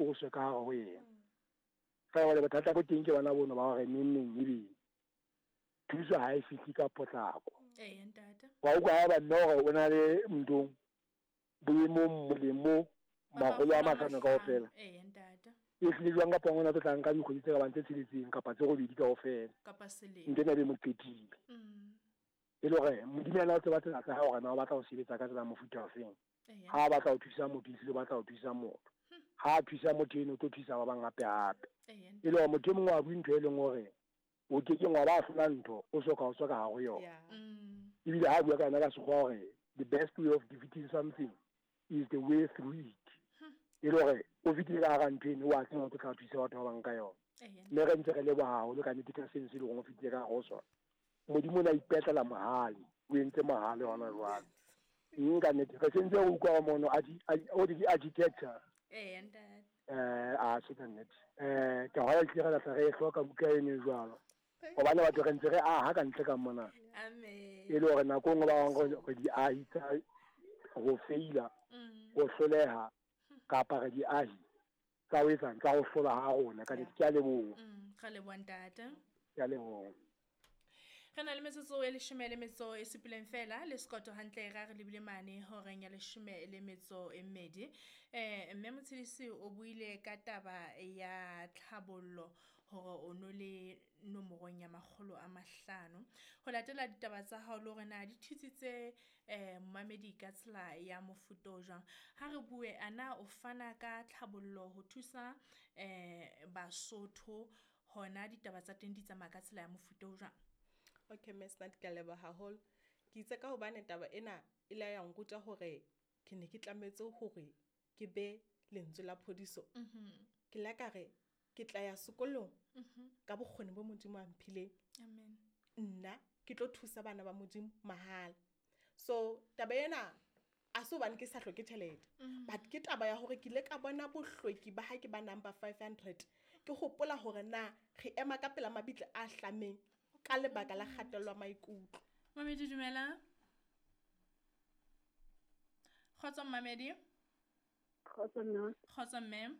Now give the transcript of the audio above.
tsoswe ka gare go yena. Fela jwale bothata bo teng ke bona bono ba gore neng neng ebe thuso ha e fihle ka potlako. Eya ntate. Wa utlwa haeba mme hore o na le nthong boemong moleng mo makgolo a mahlano kaofela. Eya ntate. E hlile jwang kapa ngwana tlo tla nka dikgwedi tse ka bang tse tsheletseng kapa tse robedi kaofela. Kapa selemo. Ntho ena e be mo qetile. E le hore Modimo yena o tseba tsela tsa hae hore na o batla ho sebetsa ka tsela ya mofuta ofeng. Ha a batla ho thusa motho, ehlile o batla ho thusa motho. Ha a thusa motho eno, o tlo thusa ba bang hape hape. E le hore motho e mongwe wa bue ntho e leng hore o ke keng wa ba hlola ntho o soka o tswa ka hare ho yona. Ebile ha a bua ka yona ka sekgowa hore the best way of defeating something is the way through it. E le hore o fetile ka hara ntho eno, wa tseba o tlo tla thusa batho ba bang ka yona. Mme re ntse re leboha haholo ka nnete ka seno se leng hore o fetile ka hare ho sona. Modimo o ne a ipetlela mohale, o entse mohale hona jwale. Mme ka nnete re sentse re utlwa mono o ke architecture. Ee, ntate. A se ka nnete. Ke hona tlile re tla re e hloka buka eno e jwalo. Hobane batho re ntse re aha ka ntle ka mona. Amen. E le hore nako nngwe ba bang re diahi tsa ho feila, ho hloleha kapa re diahi tsa ho etsang tsa ho hlola ha rona ka nnete. Ke a leboha. Ra leboha ntate. Ke a leboha. Re na le metsotso e leshome le metso e supileng fela le sekoto hantle ra re lebile mane horeng ya leshome le metso e mmedi. Mme Motshidisi o buile ka taba ya tlhabollo hore o no le nomorong ya 500. Ho latela ditaba tsa hao le hore na di thusitse momamedi ka tsela ya mofuta o jwang. Ha re bue ana o fana ka tlhabollo ho thusa Basotho hona ditaba tsa teng di tsamaya ka tsela ya mofuta o jwang? Okay, Ms. Nat, ke a leboha haholo. Ke itse ka hobane taba ena e ile ya nruta hore ke ne ke tlametse hore ke be lentswe la phodiso. Ke la ka re ke tla ya sekolong ka bokgoni bo Modimo a mphileng. Amen. Nna ke tlo thusa bana ba Modimo mahala. So taba ena a se hobane ke sa hloke tjhelete, but ke taba ya hore ke ile ka bona bohlweki ba ha ke ba number 500. Ke hopola hore na re ema ka pela mabitla a hlameng ka lebaka la kgatello ya maikutlo. Mamedi dumela. Kgotso Mamedi. Kgotso mme. Kgotso mme.